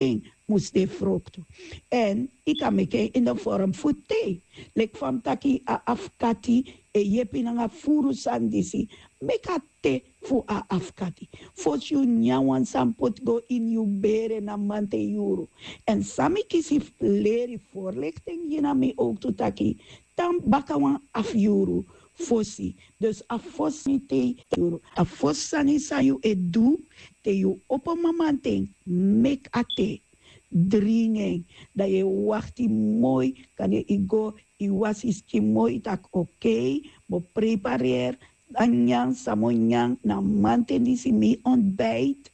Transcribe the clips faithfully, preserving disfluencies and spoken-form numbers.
en mus de froktu. Èn yu kan meki en ini den forum fu te. Leki fa mi taki, a afkati e yepi nanga furu sani disi. Meki a te fu a afkati. Fosi yu nyan wan sani poti go ini yu bere na manten yuru. Èn san mi kisi fu leri forlekten gi na mi owktu taki, tan baka wan afu yuru fosi. Dus a fosi sani te yu, a fosi sani san yu e du te yu opo mamanten, meki a te, dringi en. Dan yu e wakti moi, kande yu go, yu wasi yu skin moi, yu taki okei, mi o prepareri a nyan san mi o nyan na manten disi, mi ontbijt.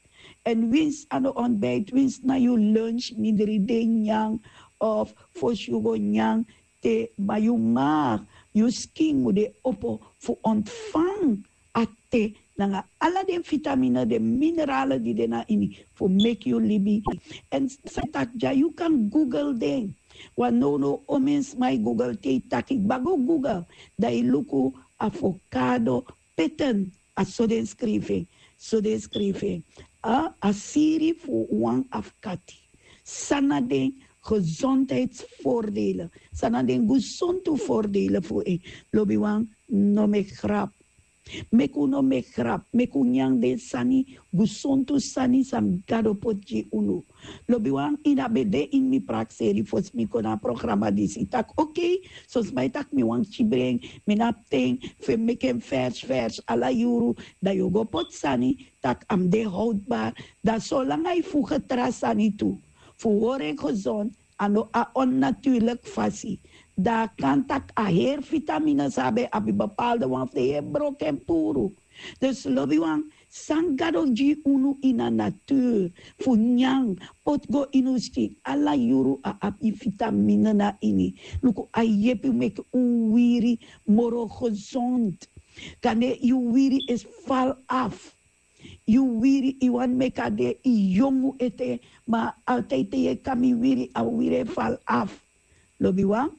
Èn winsi a no ontbijt, winsi na yu lunch mindri de nyan, of fosi yu go nyan te, ma yu maag, yu skin mu de opo fu ontfang a te nanga ala den vitamine, den minerale di de na ini, fu meki yu libi. Èn san taki dya, yu kan google den. Wan nownow omen sma e google te yu taki kba go google, dan yu luku avocado pitten, a so den skrifi en. So den skrifi en. A, a siri fu wan afkati. San na den gezondheidsvoordelen? San na den gesontu voordelen fu en? Lobiwan, no meki grap. Meki un no meki grap, meki un nyan den sani, gesontu sani san Gado poti gi unu. Lobiwan, ini a ben de ini mi prakseri fosi mi kon na a programa disi taki okei, son sma e taki mi wani kibri en, mi no abi ten fu e meki en vers vers ala yuru. Dan yu o go poti sani taki a mus de houdbar. Dan solanga yu fuge tra sani tu fu hori en gezond, a no a onnatuurlik fasi. Dan a kan taki a heri vitamine san a ben abi, bepaalde wan fu den heri broken puru. Dus lobiwan, san Gado gi unu ini a natuur fu nyan, poti go ini un skin, ala yuru a abi vitamine na ini. Luku, a yepi meki un wiri moro gezond. Kande yu wiri e fal af. Yu wiri, yu wani meki a de yu yongu ete, ma altijd te yu e kami wiri, a wiri e fal af. Lobiwan,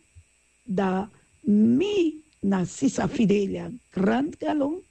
dan mi na sisa Fidelia Grant Galon,